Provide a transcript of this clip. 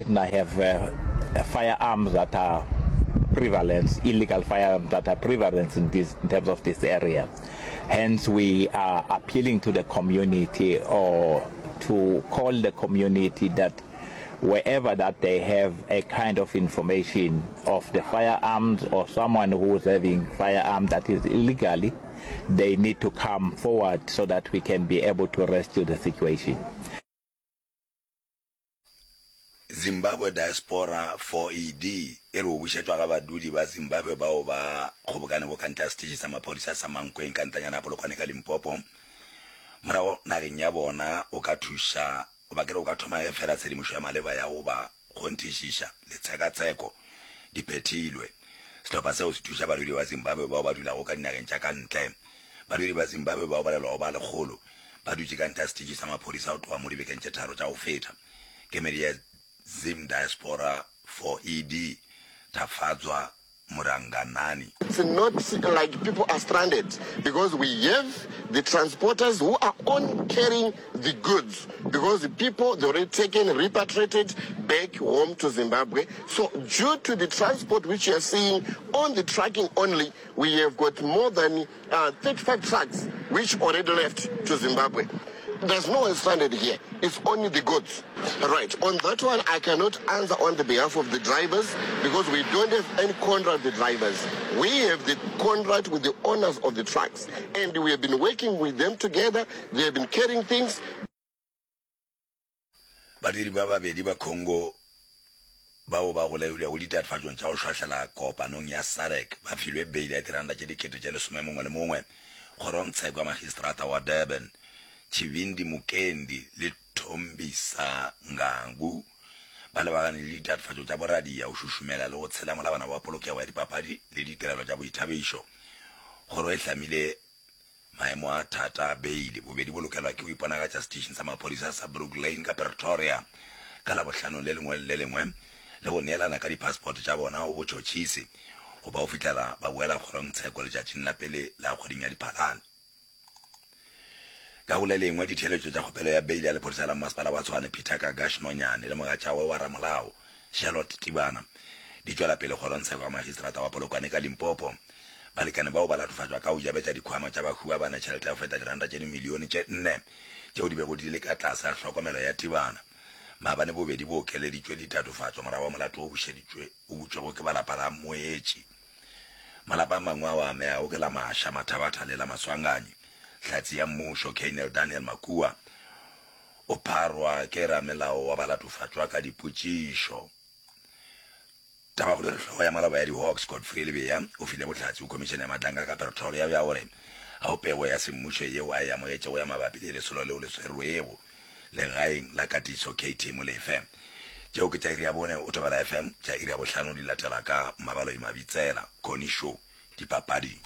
I have uh, firearms that are prevalent, illegal firearms that are prevalent in, this, in terms of this area. Hence, we are appealing to the community or to call the community that wherever that they have a kind of information of the firearms or someone who is having firearm that is illegally, they need to come forward so that we can be able to rescue the situation. Zimbabwe Diaspora 4ED e re go bušetšwa ga badudi ba Zimbabwe bao ba kgobokanego ka ntle ga seteše sa maphodisa sa Mankweng ka ntlanyana ya Polokwane ka Limpopo morago nageng ya bona go ka thuša goba ke re go ka thoma ge fela tshedimošo ya maleba ya go ba kgonthišiša le tshekatsheko di phethilwe. Sehlopha seo se thuša badudi ba Zimbabwe bao ba dulago ka dinageng tša ka ntle. Badudi ba Zimbabwe bao balelwago ba lekgolo ba dutše ka ntle ga setetši sa maphodisa go tloga mo dibekeng tše tharo tša go feta. Kemedi ya Zim Diaspora for ED, Tafadzwa Muranganani. It's not like people are stranded because we have the transporters who are on carrying the goods because the people they already taken repatriated back home to Zimbabwe. So due to the transport which you are seeing on the trucking only, we have got more than uh, 35 trucks which already left to Zimbabwe. There's no one stranded here. It's only the goods. Right. On that one, I cannot answer on the behalf of the drivers because we don't have any contract with the drivers. We have the contract with the owners of the trucks. And we have been working with them together. They have been carrying things. Badiri ba babedi ba Congo bao ba golegilwego ditatofatšong tša go šwahlela kopanong ya SADC ba filwe beile ya diranta tše dikete tše lesome mongwe le mongwe kgorongtsheko ya magistrata wa Durban, Tshivhindi Mukendi le Thombisa Ngangu ba lebagane le ditatofatšo tša boradia, go šušumela le go tshela molawana wa polokego ya dipapadi le ditirelo tša boithabišo. Kgoro e hlamile Maemo a thata a beile, bobedi bo lokelwa ke go iponagatša seteišene sa maphodisa sa Brook Lane ka Pretoria ka Labohlano le lengwe le le lengwe le go neelana ka dipassport tša bona go botšhotšhisi go ba go fihlela ba boela kgorongtsheko letšatšing la pele la kgweding ya Diphalane. Ka go le lengwe, ditheeletšo tša kgopelo ya beile ya lephodisa la mmasepala wa Tshwane Peter Kagash Nonyane le mogatšagwe wa ramolao Charlotte Tibana di tšwela pele kgorongtsheko ya magistrata wa Polokwane ka Limpopo. Balekane bao ba latofatšwa ka go jabetša dikhwama tša bahu ba bane tšhelete ya go feta diranta tše dimilione tše nne tšeo di bego di le ka tlase ga hlokomelo ya Tibana. Maabane bobedi bo okeleditšwe ditatofatšo morago ga molato wo bušeditšwe o butšwego ke ba lapa la Moetši. Malapa a mangwe ao a amegago ke la Maasha Mathabatha le la Maswanganyi. Hlatse ya mmušo, Colonel Daniel Makua, o pharwa ke ramelao wa balatofatšwa ka dipotšišo. Tabakgolo e re hlogo ya maloba ya di-Hawks, Godfrey Lebeya, o file bohlatse go Khomišene ya Matlanka ka Pretoria bja gore ga go pego ya semmušo yeo a e amogetšego ya mabapi le lesolo leo le swerwego legaeng la katiso KT Molefe. Tšeo ke tša iri ya bone o Thobela FM, tša iri ya bohlano di latela ka Mabaloi Mabitsela, Connie Show, Dipapading.